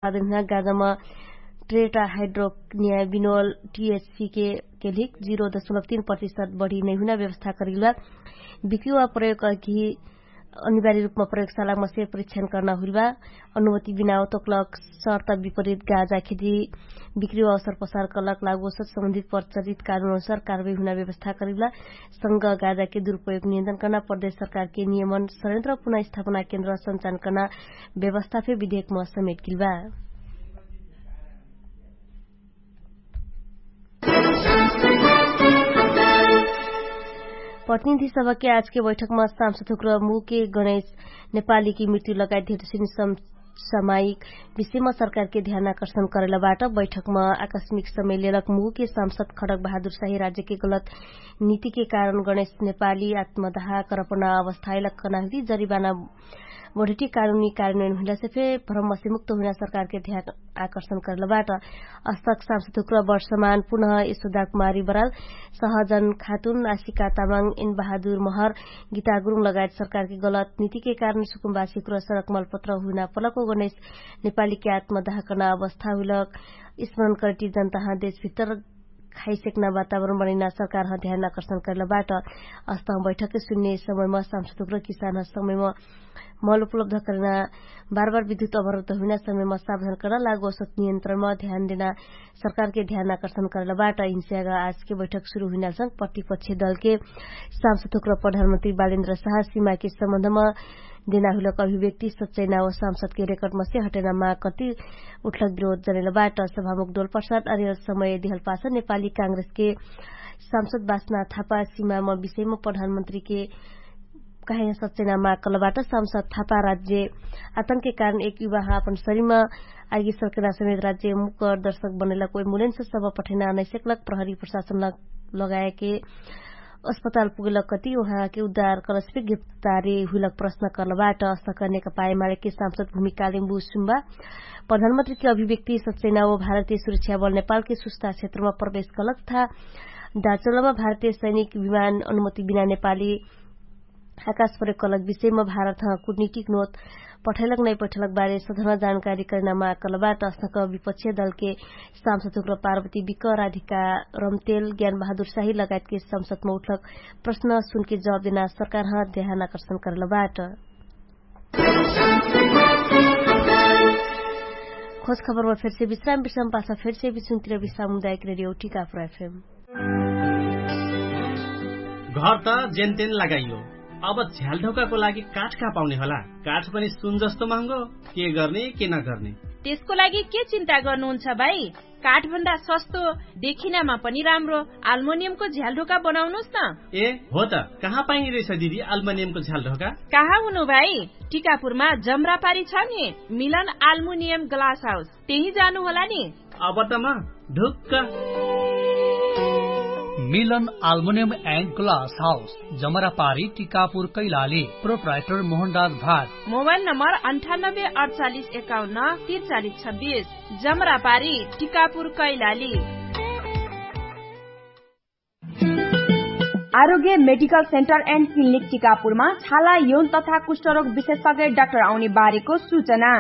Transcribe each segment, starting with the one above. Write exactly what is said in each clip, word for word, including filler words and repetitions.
साधन हुना गाजामा ट्रेटा हाइड्रोनिया बिनोल टिएचसी के केलिक जिरो दशमलब तीन प्रतिशत बढी नै हुना व्यवस्था करिलबा। बिक्री वा प्रयोग अघि अनिवार्य रूपमा प्रयोगशालामा से परीक्षण कर्ना हुइलबा। अनुमति बिना ओतोकलक शर्त विपरीत गाजा खेती बिक्री वा अवसर प्रसार कलक लागोसत सम्बन्धित प्रचलित कानुन अनुसार कारवाही हुना व्यवस्था करिलबा। संग गाजा के दुरुपयोग नियन्त्रण कर्ना प्रदेश सरकार के नियमन संयन्त्र पुनः स्थापना केन्द्र सञ्चालन कर्ना व्यवस्था फे विधेयकमा समेट किलबा। प्रतिनिधि सभाके आजके बैठकमा सांसद हुक्र मुके गणेश नेपालीके मृत्यु लगायत धेरसिन समसामायिक विषयमा सरकारके ध्यान आकर्षण करैलबाट बैठकमा आकस्मिक समय लेलक मुके सांसद खडक बहादुर साही राज्यके गलत नीतिके कारण गणेश नेपाली आत्मदाह करपना अवस्था आइलक कनाहली जरिबाना बढेटी कानुनी कार्यान्वयन हुइलासे फे भ्रमसे मुक्त हुइना सरकारके ध्यान आकर्षण करलबाट। अस्तक सांसद हुक्र वर्षमान पुनः यशोदा कुमारी बराल सहजन खातुन आशिका तामाङ इनबहादुर महर गीता गुरुङ लगायत सरकारके गलत नीतिके कारण सुकुम्बासी हुक्र सडक मलपत्र हुइना पलको गणेश नेपालीके आत्मदाह कर्ना अवस्था हुइलक स्मरण करटी जनताहा देशभित्र खाइसेक्ना वातावरण बनैना सरकारह ध्यान आकर्षण करलबाट। अस्तह बैठकके सुन्ने समयमा सांसद हुक्र किसानह समयमा मल उपलब्ध करैना बार बार विद्युत अवरुद्ध हुइना समयमा सावधान करना लागोसत नियन्त्रणमा ध्यान देना सरकारके ध्यान आकर्षण करलबाट। हिंस्याग आजके बैठक सुरु हुइनासँग प्रतिपक्ष दलके सांसद हुक्र प्रधानमन्त्री बालेन्द्र साह सिमाके सम्बन्धमा देना हुइलक अभिव्यक्ति सच्चैना व सांसदके रेकर्डमा से हटैना माग कति उठलक विरोध जनैलबाट। सभामुख डोल प्रसाद अरियल समय दिहलपास नेपाली काङ्ग्रेसके सांसद बासना थापा सिमामा विषयमा प्रधानमन्त्रीके कहे सच्चैना माग कलबाट। सांसद थापा राज्य आतंकके कारण एक युवाह आपन शरीरमा आइगी सरकैना समेत राज्य मुकर दर्शक बनैलक एम्बुलेन्स सब पठैना नैसेकलक प्रहरी प्रशासन लगाएके अस्पताल पुगेलक कति उहाँके उद्धार कलसपे गिरफ्तारी हुइलक प्रश्न कलबाट। अस्तक नेकपा एमालेके सांसद भूमिकालिम्बु सुम्बा प्रधानमन्त्रीके अभिव्यक्ति सच्चैना व भारतीय सुरक्षा बल नेपालके सुस्ता क्षेत्रमा प्रवेश कलक था दाचोलमा भारतीय सैनिक विमान अनुमति बिना नेपाली आकाश प्रयोग कलक विषयमा भारतह कुटनीतिक नोत पठैलक नै पठैलक बारे सधना जानकारी करैना माग कलबाट। अस्तक विपक्ष दलके सांसद हुक्र पार्वती विक राधिका रमतेल ज्ञान बहादुर साही लगायतके संसदमा उठलक प्रश्न सुनके जवाब देना सरकारह ध्यान आकर्षण करलबाट। खोज खबरमा फेरसे विश्राम विश्राम पाछा फेरसे विश्राम तिर विश्राम मुदायक रेडियो टिकापुर एफएम। घर त जेनतेन लगाइयो, अब झ्यालढोकाको लागि काठ कहाँ पाउने होला? काठ पनि सुन जस्तो महँगो। के गर्ने के नगर्ने? त्यसको लागि के चिन्ता गर्नुहुन्छ भाइ? काठभन्दा सस्तो, देखिनामा पनि राम्रो आल्मोनियमको झ्यालढोका बनाउनुस् न। ए हो त, कहाँ पाइने रहेछ दिदी आल्मोनियमको झ्यालढोका? कहाँ हुनु भाइ? टिकापुरमा जमरापारी छ नि, मिलन आल्मुनियम ग्लास हाउस, त्यही जानु होला नि। अब त म ढुक्क। मिलन आल्मुनियम एन्ड ग्लास हाउस, जमरापारी, टिकापुर, कैलाली। प्रोप्राइटर मोहनराज भाट। मोबाइल नम्बर अन्ठानब्बे अडचालिस एकाउन्न त्रिचालिस छब्बिस। जमरापारी, टिकापुर, कैलाली। आरोग्य मेडिकल सेन्टर एन्ड क्लिनिक टिकापुरमा छाला यौन तथा कुष्ठरोग विशेषज्ञ डाक्टर आउने बारेको सूचना।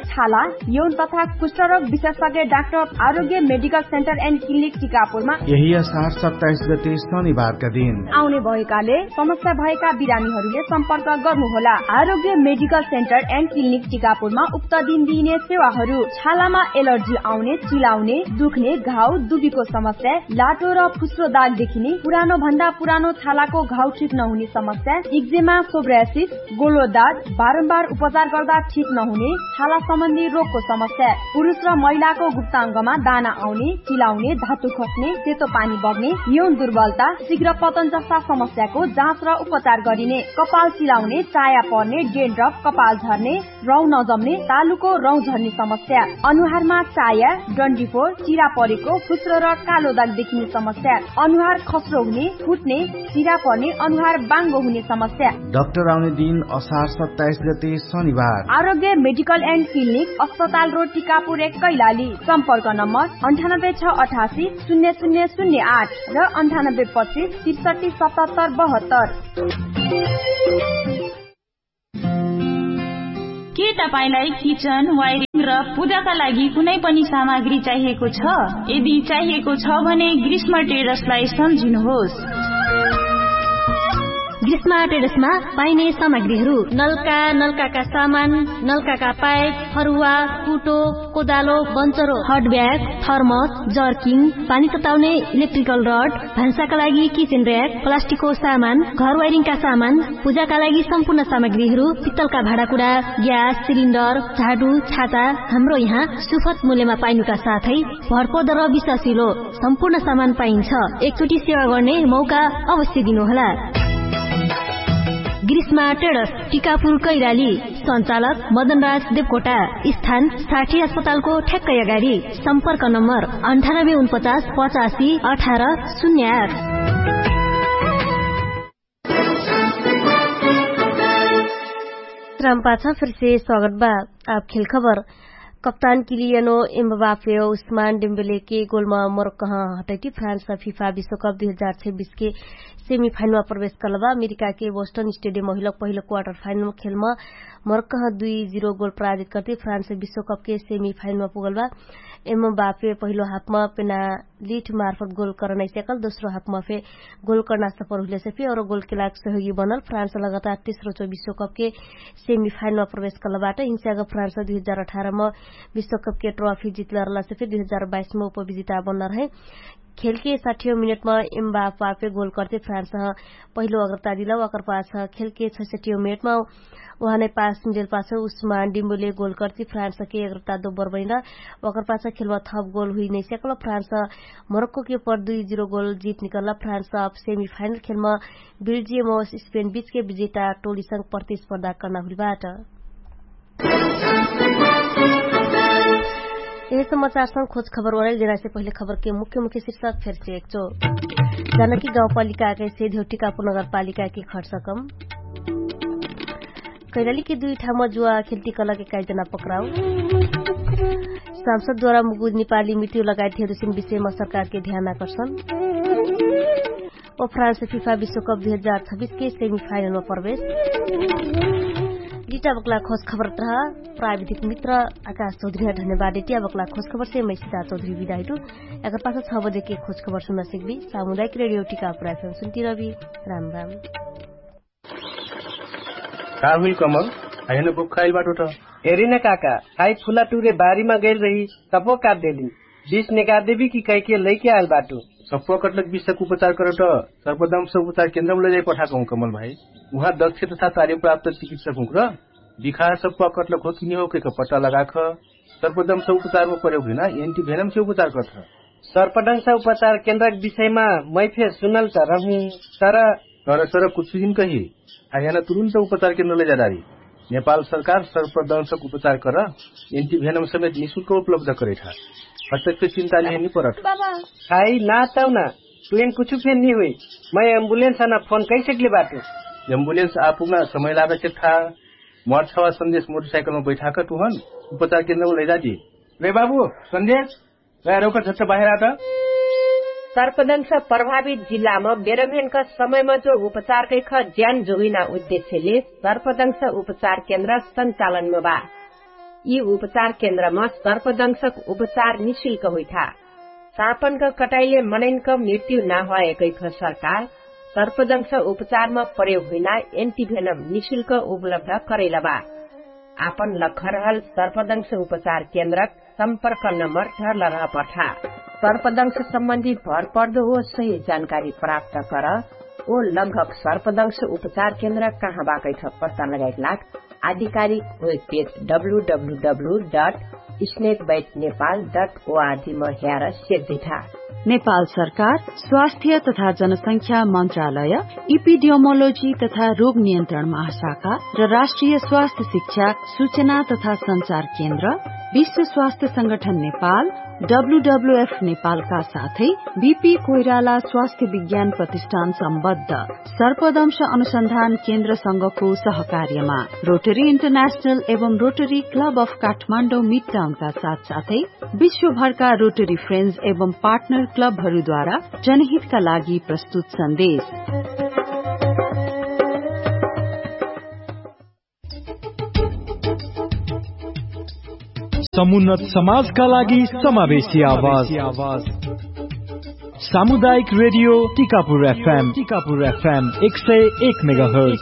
छाला यौन तथा कुष्ठरोग विशेषज्ञ डाक्टर आरोग्य मेडिकल सेन्टर एन्ड क्लिनिक टिकापुरमा यही असार सत्ताइस गते शनिबारका दिन आउने भएकाले समस्या भएका बिरामीहरूले सम्पर्क गर्नुहोला। आरोग्य मेडिकल सेन्टर एन्ड क्लिनिक टिकापुरमा उक्त दिन दिइने सेवाहरू छालामा एलर्जी आउने, चिलाउने, दुख्ने, घाउ, दुबीको समस्या, लाटो र फुस्रो दाग देखिने, पुरानो भन्दा पुरानो छालाको घाउ ठिक नहुने समस्या, इक्जेमा, सोब्रासिस, गोलो दाग, बारम्बार उपचार गर्दा ठिक नहुने, छाला सम्बन्धी रोगको समस्या, पुरुष र महिलाको गुप्ताङ्गमा दाना आउने, चिलाउने, धातु खस्ने, सेतो पानी बग्ने, यौन दुर्बलता, शीघ्र पतन जस्ता समस्याको जाँच र उपचार गरिने, कपाल चिलाउने, चाया पर्ने, डेन्ड्रफ, कपाल झर्ने, रौँ नजम्ने, तालुको रौँ झर्ने समस्या, अनुहारमा चाया, डन्डीफोर, चिरा परेको, फुस्रो र कालो दाग देखिने समस्या, अनुहार खस्रो हुने, फुट्ने, चिरा पर्ने, अनुहार बाङ्गो हुने समस्या। डाक्टर आउने दिन असार सत्ताइस गते शनिबार। आरोग्य मेडिकल एन्ड क्लिनिक, अस्पताल रोड, टिकापुर एक, कैलाली। सम्पर्क नम्बर अन्ठानब्बे छ अठासी शून्य शून्य शून्य आठ र अन्ठानब्बे पच्चिस त्रिसठी सतहत्तर बहत्तर। के तपाईंलाई किचन, वायरिङ र पूजाका लागि कुनै पनि सामग्री चाहिएको छ? यदि चाहिएको छ भने ग्रीष्म ट्रेडर्सलाई सम्झिनुहोस्। ग्रीष्म ट्रेडर्समा पाइने सामग्रीहरू: नलका, नलकाका सामान, नलकाका पाइप, फरुवा, कुटो, कोदालो, बन्चरो, हट ब्याग, थर्मस, जर्किङ, पानी तताउने इलेक्ट्रिकल रड, भान्साका लागि किचन र्‍याक, प्लास्टिकको सामान, घर वायरिङका सामान, पूजाका लागि सम्पूर्ण सामग्रीहरू, पित्तलका भाँडाकुँडा, ग्यास सिलिन्डर, झाडु, छाता, हाम्रो यहाँ सुपथ मूल्यमा पाइनुका साथै भरपर्दो र विश्वासिलो सम्पूर्ण सामान पाइन्छ। एकचोटि सेवा गर्ने मौका अवश्य दिनुहोला। ग्रीष्मा ट्रेडर्स, टिकापुर कैराली। सञ्चालक मदनराज देवकोटा। स्थान साठी अस्पतालको ठ्याक्कै अगाडि। सम्पर्क नम्बर अन्ठानब्बे उनपचास पचासी अठार शून्य आठ। राम पाछा फिरसे स्वागत बा। आप खेल खबर। कप्तान किलियनो एम्बापे उस्मान डेम्बेले के गोलमा मोरक्कह हटैटी फ्रान्स फिफा विश्वकप दुई हजार छब्बिस के सेमिफाइनलमा प्रवेश कलबा। अमेरिका के बोस्टन स्टेडियम महिलक पहिलो क्वार्टर फाइनल खेलमा मोरक्कह दुई जिरो गोल पराजित करती फ्रान्स विश्वकप के सेमिफाइनलमा पुगलबा। एम्बापे पहिलो हाफमा पेनालिट मार्फत गोल करनाइ स्याकल दोस्रो हाफमा फे गोल कर्ना सफर हुइलेसे फे और गोल केलाक सहयोगी बनल फ्रान्स लगातार तेस्रो चौ विश्वकप के सेमिफाइनलमा प्रवेश कलबाट। हिंसाग फ्रान्स दुई हजार अठारमा विश्वकप के ट्रफी जितल रहलासे फे दुई हजार बाइसमा उपविजिता बनल है। खेलके साठियो मिनेटमा एम्बापापे गोल कर्ते फ्रान्स पहिलो अग्रता दिला। वाकर पास खेलके छैसठियो मिनेटमा उहाँ नै पास मिलेल पास उस्मा डिम्बुले गोल कर्ती फ्रान्स के अग्रता दोबर बनिला। वाकर पास खेलमा थप गोल हुइ नै सकल फ्रान्स मोरक्को के पर दुई जिरो गोल जित निकल्ला। फ्रान्स अब सेमिफाइनल खेलमा बेल्जियम स्पेन बिचके विजेता टोलीसँग प्रतिस्पर्धा कर्ना हुइल बाट। यही समाचारसँग खोज खबर ओराइल जेनासे पहिले खबरके मुख्य मुख्य शीर्षक फेरसे एकचो। जानकी गाउँपालिकाके से धेउटिकापुर नगरपालिकाके खर्च कम। कैलालीके दुई ठाउँमा जुवा खेल्टी कलके काइजना पक्राउ। सांसदद्वारा मुगुज नेपाली मृत्यु लगायत धेरुसिन विषयमा सरकारके ध्यान आकर्षण। ओ फ्रान्स फिफा विश्वकप दुई हजार छब्बिस के सेमिफाइनलमा प्रवेश। लिटा बक्ला खोज खबर तरह प्राविधिक मित्र आकाश चौधरी धन्यवाद देटिया बक्ला खोज खबर से मैसिदा चौधरी विदाइटु। एकर पास छ बजे के खोज खबर सुन्ना सिकबी सामुदायिक रेडियो टिका प्रायफम सुन्ती रबी। राम राम। का हुइल कमल? आइन बोक खाइल बाटो त। हेरी न काका, खाइ फुला टुरे बारीमा गइल रही, तपो काट देली। बिस नेका देबी कि कैके लैके आइल बाटो। सप्पा कटलक बिसक उपचार करट सर्पदंश उपचार केन्द्रम लैजाइ पठाकहु कमल भाइ। उहाँ दक्ष तथा तार्यप्राप्त चिकित्सक हुँक्र बिखा सप्पा कटलक हो कि निहो कैक पट्टा लगाख। सर्पदंश उपचारम प्रयोग हुइना एन्टिभेनम से उपचार करट। सर्पदंश उपचार केन्द्रक विषयमा मै फेर सुनल त रहु। तर तर सर कुछु दिन कही आइहान तुरुन्त उपचार केन्द्र लैजाडारी। नेपाल सरकार सर्पदंशक उपचार कर एन्टिभेनम समेत निशुल्क उपलब्ध करैठा। हस्तक चिन्ता लिहे नि परत। बाबा। खाइ ना तौना। तुइन कुछु फेन नि हुइ। मै एम्बुलेन्स आना फोन कैसकले बाटु। एम्बुलेन्स आपुगना समय लागत छे था। मोर छवा सन्देश मोटरसाइकलमा बैठाक तुहन उपचार केन्द्रमा लैजादी। रे बाबु, सन्देश। रौका झट्ट बाहेर आत। सर्पदंश प्रभावित जिल्लामा बेरम्हेनका समयमा जो उपचार कैख ज्यान जोगिना उद्देश्यले सर्पदंश उपचार केन्द्र सञ्चालनमा बा। यि उपचार केन्द्रमा सर्पदंशक उपचार निशुल्क हुइठा। सापनक कटाइले मनैनक मृत्यु नाहवाए कैख सरकार सर्पदंश उपचारमा प्रयोग हुइना एन्टिभेनम निशुल्क उपलब्ध करैलबा। आपन लखरहल सर्पदंश उपचार केन्द्रक सम्पर्क नम्बर धरल रहपठा। सर्पदंश सम्बन्धी भरपर्दो ओ सही जानकारी प्राप्त कर। ओ लगभग सर्पदंश उपचार केन्द्र कहाँ बाकैठ पत्ता लगाइक लाग आधिकारिक webpage W W W dot snake bite Nepal dot ओआरजीमा ह्यार सेक दिठा। नेपाल सरकार स्वास्थ्य तथा जनसंख्या मन्त्रालय, इपिडियोमोलोजी तथा रोग नियन्त्रण महाशाखा र राष्ट्रिय स्वास्थ्य शिक्षा सूचना तथा सञ्चार केन्द्र, विश्व स्वास्थ्य संगठन नेपाल, डब्लुडब्लुएफ नेपालका साथै बिपी कोइराला स्वास्थ्य विज्ञान प्रतिष्ठान सम्बद्ध सर्पदंश अनुसन्धान केन्द्रसँगको सहकार्यमा रोटरी इन्टरनेशनल एवं रोटरी क्लब अफ काठमाडौँ मिडटाउनका साथसाथै विश्वभरका रोटरी फ्रेन्ड्स एवं पार्टनर क्लबहरूद्वारा जनहितका लागि प्रस्तुत सन्देश। समुन्नत समाजका लागि समावेशी आवाज। सामुदायिक रेडियो टिकापुर एफएम टिकापुर एफएम एक सय एक मेगाहर्ज।